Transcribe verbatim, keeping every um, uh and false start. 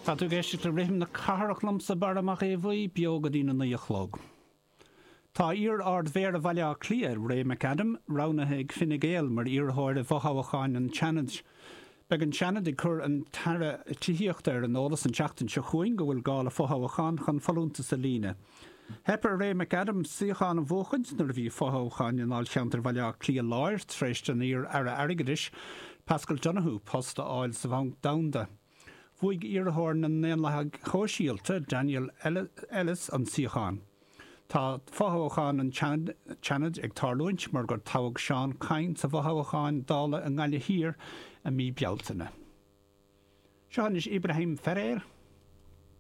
Tá tú ag éisteacht le Rithim na Cathrach liomsa Barra Mac Aodha Bhuí beo go dtí a naoi a chlog. Tá iar-Ard-Mhéara Bhaile Átha Cliath, Ray McAdam, roghnaithe ag Fine Gael mar iarrthóir i bhfothoghchán an tSeanaid. Beidh an Seanad ag cur an tAire Tithíochta ar an eolas an tseachtain seo chugainn go bhfuil gá le fothoghchán chun folúntas a líonadh. Theip ar Ray McAdam suíochán a bhuachaint nuair a bhí fothoghchán i ndáilcheantar Bhaile Átha Cliath Láir tar éis don iar-aire airgeadais Paschal Donohoe post a fháil sa Bhanc Domhanda. Bhuaigh iarrthóir na nDaonlathaithe Sóisialta Daniel Ellis an suíochán. Tá fothoghchán an tSeanaid ag tarlúint mar gur toghadh Seán Kyne sa bhfothoghchán Dála i nGaillimh Thiar i mí Bealtaine. Seo anois Ibrahim Ferrer.